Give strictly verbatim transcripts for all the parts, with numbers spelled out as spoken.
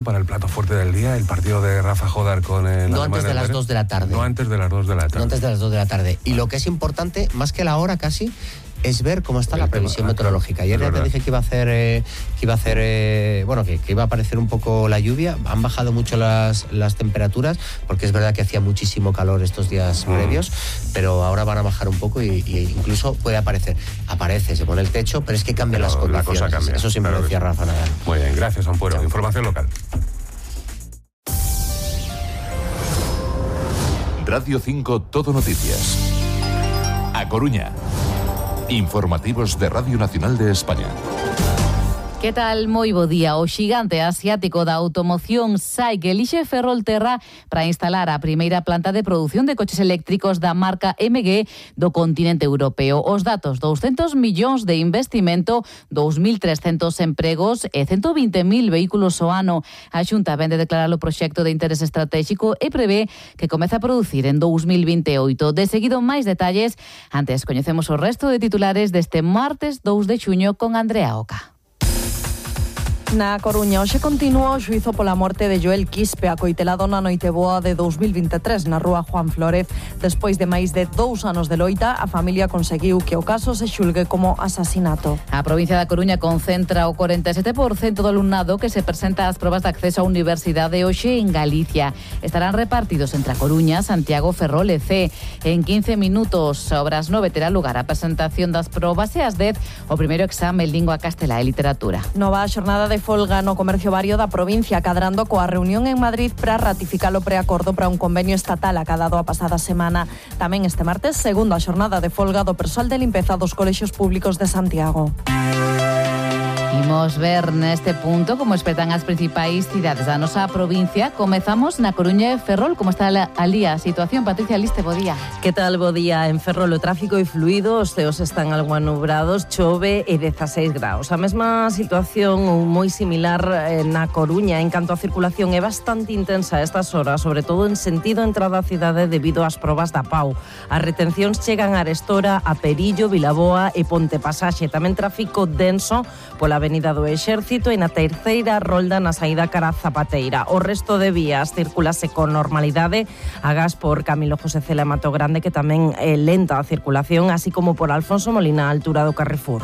Para el plato fuerte del día, el partido de Rafa Jodar con el... No antes de las dos de la tarde. No antes de las dos de la tarde. No antes de las dos de la tarde. Y lo que es importante, más que la hora casi, es ver cómo está el la previsión tema, meteorológica. Ayer ya te dije que iba a hacer, eh, que iba a hacer, eh, bueno, que, que iba a aparecer un poco la lluvia. Han bajado mucho las, las temperaturas, porque es verdad que hacía muchísimo calor estos días mm. previos, pero ahora van a bajar un poco y, y incluso puede aparecer. Aparece, se pone el techo, pero es que cambian las condiciones. La cosa cambia. Eso siempre claro decía Rafa Nadal. Muy bien, gracias, Ampuero. Chao. Información local. Radio cinco Todo Noticias. A Coruña. Informativos de Radio Nacional de España. Que tal? Moi bo día. O xigante asiático da automoción SAIC elixe Ferrolterra para instalar a primeira planta de produción de coches eléctricos da marca M G do continente europeo. Os datos: douscentos millóns de investimento, dous mil trescentos empregos e ciento vinte mil vehículos ao ano. A Xunta vende declarar o proxecto de interés estratégico e prevé que comece a producir en dous mil vinte e oito. De seguido, máis detalles. Antes, coñecemos o resto de titulares deste martes dous de xuño con Andrea Oca. Na Coruña, hoxe continúa o xuízo pola morte de Joel Quispe, acoitelado na noite boa de dous mil vinte e tres na rúa Juan Flórez. Despois de máis de dous anos de loita, a familia conseguiu que o caso se xulgue como asasinato. A provincia da Coruña concentra o cuarenta e sete por cento do alumnado que se presenta ás probas de acceso á universidade hoxe en Galicia. Estarán repartidos entre a Coruña, Santiago, Ferrol e Cee. En quince minutos, sobre as nove, terá lugar a presentación das probas e ás dez o primeiro exame en lingua castelá e literatura. Nova xornada de folga no comercio vario da provincia, cadrando coa reunión en Madrid para ratificar o preacordo para un convenio estatal acadado a pasada semana. Tamén este martes, segunda xornada de folga do persoal de limpeza dos colexios públicos de Santiago. Imos ver neste punto como espertan as principais cidades da nosa provincia. Comezamos na Coruña e Ferrol. Como está ali a situación? Patricia Liste, bo día. Que tal, bo día? En Ferrol o tráfico é fluido, os ceos están algo anubrados, chove e dezaseis graus. A mesma situación moi similar na Coruña en canto a circulación é bastante intensa a estas horas, sobre todo en sentido entrada á cidade debido ás probas da P A U. As retencións chegan a Arestora, a Perillo, Vilaboa e Ponte Pasaxe. Tamén tráfico denso pola Avenida do Exército e na terceira rolda na saída cara a Zapateira. O resto de vías circulase con normalidade, agás por Camilo José Cela Mato Grande, que tamén é lenta a circulación, así como por Alfonso Molina, a altura do Carrefour.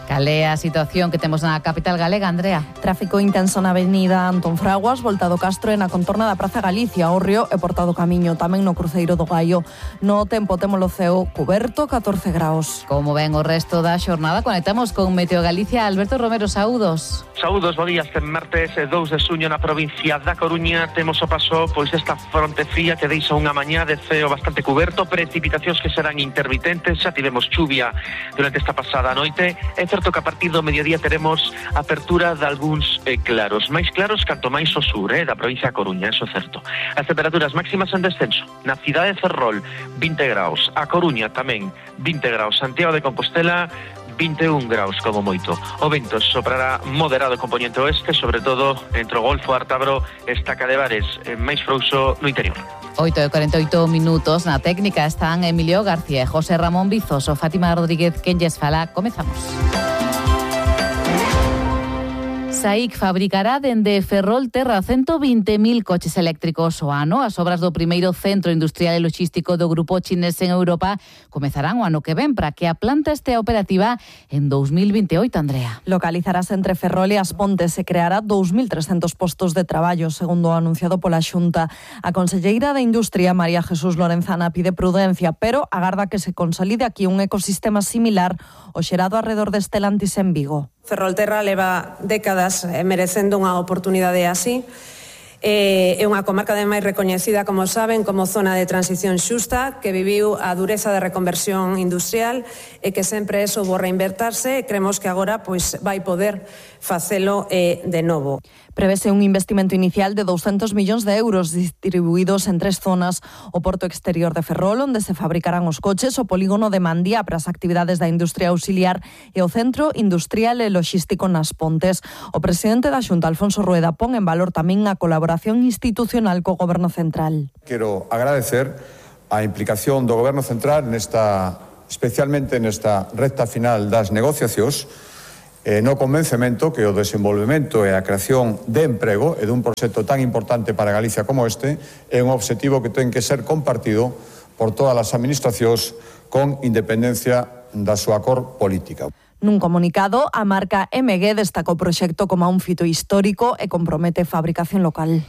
Cal é a situación que temos na capital galega, Andrea? Tráfico intenso na avenida Antón Fraguas, Volta do Castro e na contorna da Praza Galicia, o Río e Porta do Camiño, tamén no cruceiro do Gaio. No tempo temos o ceo cuberto, catorce graus. Como ven o resto da xornada, conectamos con Meteo Galicia. Alberto Romero, saúdos. Saúdos, bo día. Este martes dous de xuño na provincia da Coruña temos o paso pois desta fronte fría que deixa unha mañá de ceo bastante cuberto, precipitacións que serán intermitentes. Xa tivemos chuvia durante esta pasada noite. É certo que a partir do mediodía teremos apertura de algúns eh, claros, máis claros canto máis ao sur, eh, da provincia da Coruña, eso é certo. As temperaturas máximas en descenso. Na cidade de Ferrol, vinte graus. A Coruña tamén, vinte graus. Santiago de Compostela, vinte e un graus como moito. O vento soprará moderado componente oeste, sobre todo entre o Golfo Ártabro e Estaca de Bares, eh, máis frouxo no interior. oito e cuarenta e oito minutos. Na técnica están Emilio García e José Ramón Vizoso. Fátima Rodríguez, quen lles fala. Comezamos. SAIC fabricará dende Ferrolterra ciento vinte mil coches eléctricos ao ano. As obras do primeiro centro industrial e logístico do grupo chinés en Europa comezarán o ano que ven para que a planta estea operativa en dous mil vinte e oito, Andrea. Localizarase entre Ferrol e As Pontes e creará dous mil trescentos postos de traballo, segundo o anunciado pola Xunta. A conselleira de Industria, María Jesús Lorenzana, pide prudencia, pero agarda que se consolide aquí un ecosistema similar ao xerado arredor de Stellantis en Vigo. Ferrolterra leva décadas merecendo unha oportunidade así. É unha comarca ademais recoñecida, como saben, como zona de transición xusta, que viviu a dureza de reconversión industrial e que sempre eso vou reinvertirse e creemos que agora pois vai poder facelo eh, de novo. Prevese un investimento inicial de douscentos millóns de euros distribuídos en tres zonas: o porto exterior de Ferrol, onde se fabricarán os coches, o polígono de Mandía para as actividades da industria auxiliar e o centro industrial e logístico nas Pontes. O presidente da Xunta, Alfonso Rueda, pon en valor tamén a colaboración institucional co Goberno Central. Quero agradecer a implicación do Goberno Central nesta, especialmente nesta recta final das negociacións, eh, no convencemento que o desenvolvemento e a creación de emprego e dun proxecto tan importante para Galicia como este é un obxectivo que ten que ser compartido por todas as administracións con independencia da súa cor política. Nun comunicado, a marca M G destacou o proxecto como un fito histórico e compromete fabricación local.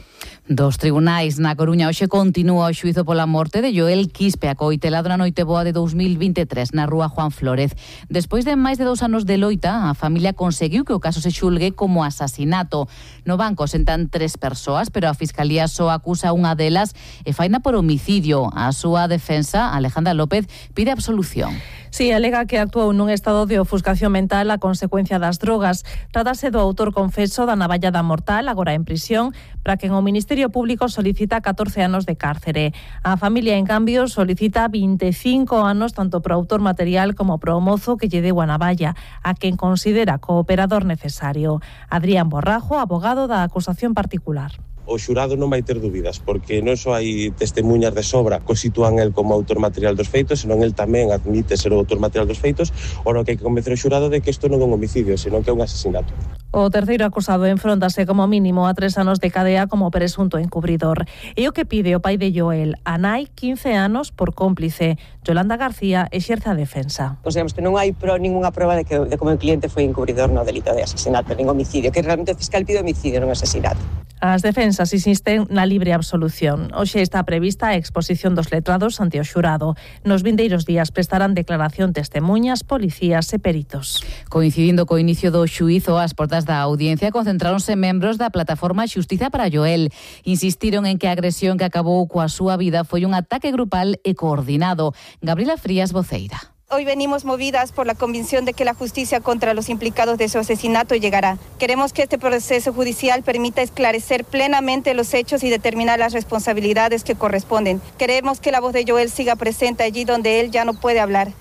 Dos tribunais na Coruña hoxe continúa o xuízo pola morte de Joel Quispe, acoitelado na noite boa de dous mil vinte e tres na rúa Juan Flórez. Despois de máis de dous anos de loita, a familia conseguiu que o caso se xulgue como asasinato. No banco sentan tres persoas, pero a Fiscalía só acusa unha delas e faina por homicidio. A súa defensa, Alejandra López, pide absolución. Sí, alega que actuou nun estado de ofuscación mental a consecuencia das drogas. Trátase do autor confeso da navallada mortal, agora en prisión, para quen o Ministerio Público solicita catorce anos de cárcere. A familia, en cambio, solicita vinte e cinco anos tanto pro autor material como pro mozo que lle deu a navalla, a quen considera cooperador necesario. Adrián Borrajo, abogado da acusación particular. O xurado non vai ter dúbidas, porque non só hai testemunhas de sobra que o sitúan el como autor material dos feitos, senón el tamén admite ser o autor material dos feitos, o no que hai que convencer o xurado de que isto non é un homicidio, senón que é un asesinato. O terceiro acusado enfróntase como mínimo a tres anos de cadea como presunto encubridor. E o que pide o pai de Joel, a nai, quince anos por cómplice. Yolanda García exerce a defensa. Consideramos que non hai pro, ninguna prova de que de como o cliente foi encubridor no delito de asesinato, nin homicidio, que realmente o fiscal pide homicidio, non asesinato. As defensas insisten na libre absolución. Hoxe está prevista a exposición dos letrados ante o xurado. Nos vindeiros días prestarán declaración testemuñas, policías e peritos. Coincidindo co inicio do xuízo, as portas da audiencia concentráronse membros da plataforma Xustiza para Joel. Insistiron en que a agresión que acabou coa súa vida foi un ataque grupal e coordinado. Gabriela Frías, voceira. Hoy venimos movidas por la convicción de que la justicia contra los implicados de su asesinato llegará. Queremos que este proceso judicial permita esclarecer plenamente los hechos y determinar las responsabilidades que corresponden. Queremos que la voz de Joel siga presente allí donde él ya no puede hablar.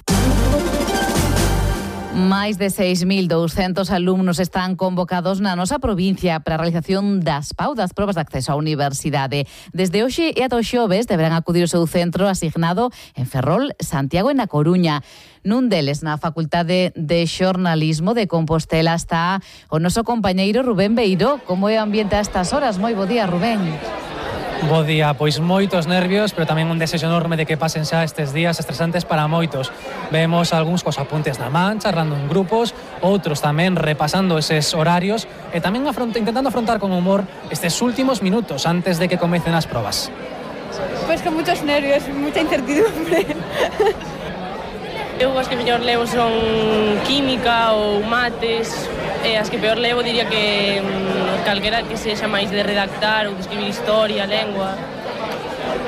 Máis de seis mil douscentos alumnos están convocados na nosa provincia para a realización das P A U, das probas de acceso á universidade. Desde hoxe e ata o xoves deberán acudir ao seu centro asignado en Ferrol, Santiago e na Coruña. Nun deles, na Facultade de Xornalismo de Compostela, está o noso compañeiro Rubén Beiró. Como é o ambiente a estas horas? Moi bo día, Rubén. Bo día, pois moitos nervios, pero tamén un desexo enorme de que pasen xa estes días estresantes para moitos. Vemos algúns cos apuntes na man, charlando en grupos, outros tamén repasando eses horarios e tamén afronta, intentando afrontar con humor estes últimos minutos antes de que comecen as probas. Pois con moitos nervios, moita incertidumbre. Eu as que mellor levo son química ou mates, e as que peor levo diría que mm, calquera que sexa máis de redactar ou de escribir historia, lengua.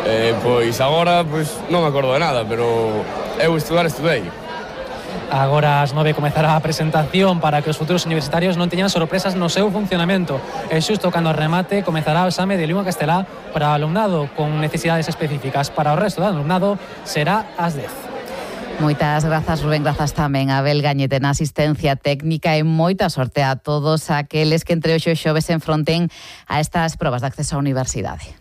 Eh, pois agora pois, non me acordo de nada, pero eu estudar estudei. Agora ás nove comezará a presentación para que os futuros universitarios non teñan sorpresas no seu funcionamento. E xusto cando remate comezará o exame de lingua castelá para o alumnado con necesidades específicas. Para o resto do alumnado será ás dez. Moitas grazas, Rubén, grazas tamén a Abel Gañete na asistencia técnica e moita sorte a todos aqueles que entre hoxe e xoves se enfronten a estas probas de acceso á universidade.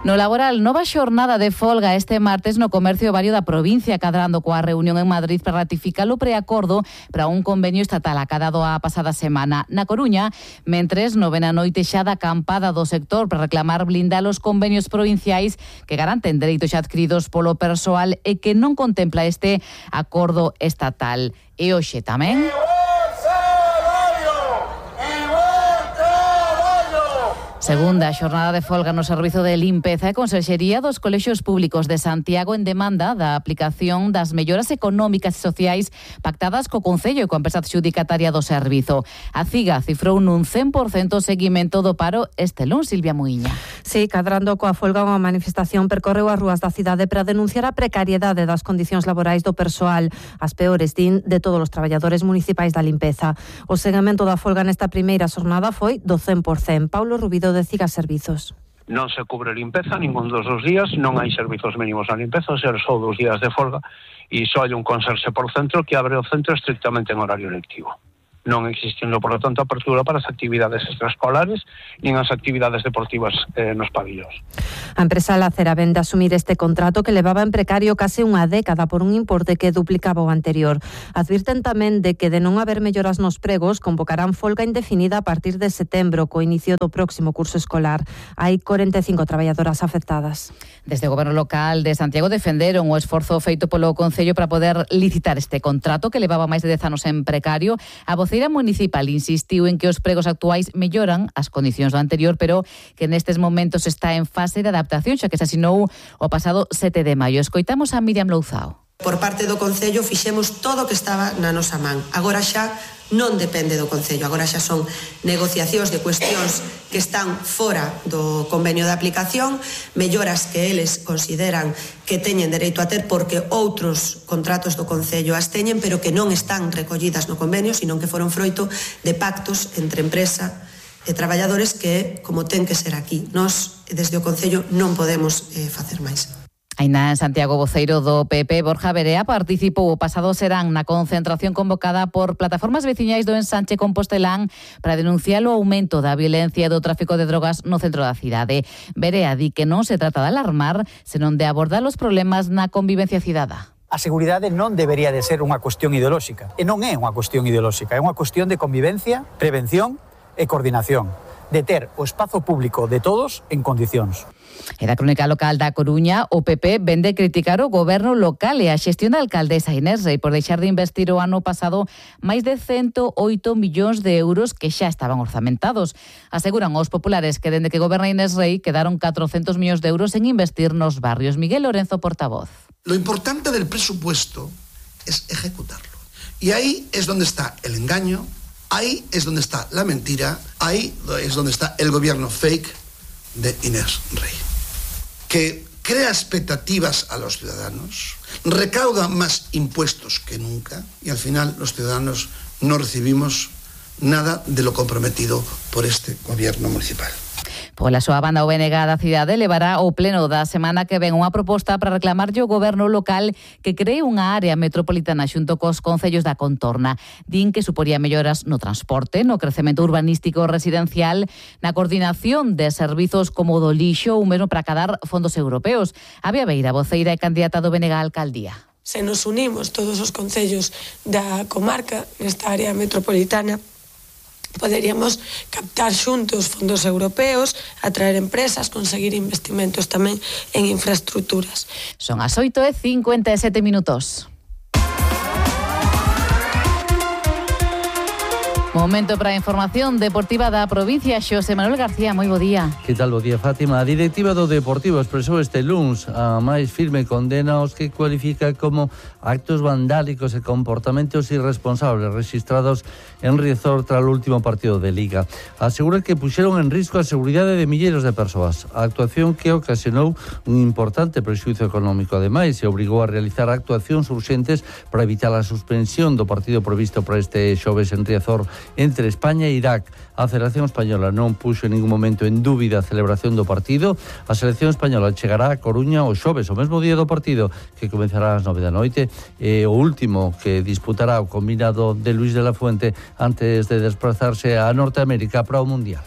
No laboral, nova xornada de folga este martes no comercio vario da provincia, cadrando coa reunión en Madrid para ratificar o preacordo para un convenio estatal acadado a pasada semana. Na Coruña, mentres novena noite xa da acampada do sector para reclamar blindar os convenios provinciais que garanten dereitos adquiridos polo persoal e que non contempla este acordo estatal. E hoxe tamén... Segunda xornada de folga no servizo de limpeza e conserxería dos colexios públicos de Santiago en demanda da aplicación das melloras económicas e sociais pactadas co Concello e coa empresa adxudicataria do servizo. A CIGA cifrou nun cen por cento o seguimento do paro este luns, Silvia Muiña. Sí, cadrando coa folga, unha manifestación percorreu as rúas da cidade para denunciar a precariedade das condicións laborais do persoal, as peores, din, de todos os traballadores municipais da limpeza. O seguimento da folga nesta primeira xornada foi do cen por cento. Paulo Rubido de CIGA Servizos. Non se cubre limpeza ningún dos dos días, non hai servizos mínimos na limpeza, ser só dos días de folga e só hai un conserxe por centro que abre o centro estrictamente en horario lectivo. non existindo, por lo tanto, apertura para as actividades extraescolares nin as actividades deportivas eh, nos pabillóns. A empresa Lacera vende asumir este contrato que levaba en precario case unha década por un importe que duplicaba o anterior. Advirten tamén de que de non haber melloras nos pregos convocarán folga indefinida a partir de setembro co inicio do próximo curso escolar. Hai corenta e cinco traballadoras afectadas. Desde o Goberno local de Santiago defenderon o esforzo feito polo Concello para poder licitar este contrato que levaba máis de dez anos en precario. A voceira municipal insistiu en que os pregos actuais melloran as condicións do anterior, pero que nestes momentos está en fase de adaptación, xa que se asinou o pasado sete de maio. Escoitamos a Miriam Louzao. Por parte do Concello fixemos todo o que estaba na nosa man. Agora xa non depende do Concello, agora xa son negociacións de cuestións que están fora do convenio de aplicación, melloras que eles consideran que teñen dereito a ter porque outros contratos do Concello as teñen, pero que non están recollidas no convenio, sino que foron froito de pactos entre empresa e traballadores que, como ten que ser aquí, nós, desde o Concello, non podemos eh, facer máis. Aínda en Santiago, voceiro do P P, Borja Verea, participou o pasado serán na concentración convocada por plataformas veciñais do Ensanche Compostelán para denunciar o aumento da violencia e do tráfico de drogas no centro da cidade. Verea di que non se trata de alarmar, senón de abordar os problemas na convivencia cidadá. A seguridade non debería de ser unha cuestión ideolóxica. E non é unha cuestión ideolóxica, é unha cuestión de convivencia, prevención e coordinación, de ter o espazo público de todos en condicións. E da crónica local da Coruña, o P P vende criticar o goberno local e a xestión da alcaldesa Inés Rei por deixar de investir o ano pasado máis de ciento oito millóns de euros que xa estaban orzamentados. Aseguran os populares que dende que goberna Inés Rei quedaron catrocentos millóns de euros en investir nos barrios. Miguel Lorenzo, portavoz. Lo importante del presupuesto es ejecutarlo. Y ahí es donde está el engaño, ahí es donde está la mentira, ahí es donde está el gobierno fake de Inés Rei, que crea expectativas a los ciudadanos, recauda más impuestos que nunca y al final los ciudadanos no recibimos nada de lo comprometido por este gobierno municipal. Pola súa banda, o B N G da cidade levará ao pleno da semana que ven unha proposta para reclamarlle ao goberno local que cree unha área metropolitana xunto cos concellos da contorna. Din que suporía melloras no transporte, no crecemento urbanístico residencial, na coordinación de servizos como do lixo ou mesmo para cadar fondos europeos. Avia Beira, voceira e candidata do B N G á alcaldía. Se nos unimos todos os concellos da comarca nesta área metropolitana, poderíamos captar xuntos fondos europeos, atraer empresas, conseguir investimentos tamén en infraestructuras. Son as oito e cincuenta e sete minutos. Momento para a información deportiva da provincia. Xosé Manuel García, moi bo día. Que tal, bo día, Fátima? A directiva do Deportivo expresou este luns a máis firme condena aos que cualifica como actos vandálicos e comportamentos irresponsables registrados en Riazor tras o último partido de Liga. Asegura que puxeron en risco a seguridade de milleiros de persoas. A actuación que ocasionou un importante prexuízo económico. Ademais, se obrigou a realizar actuacións urxentes para evitar a suspensión do partido previsto para este xoves en Riazor entre España e Irak. A Federación Española non puxo en ningún momento en dúbida a celebración do partido. A selección española chegará a Coruña o xoves, o mesmo día do partido, que comenzará ás nove da noite, e o último que disputará o combinado de Luis de la Fuente antes de desplazarse a Norteamérica para o Mundial.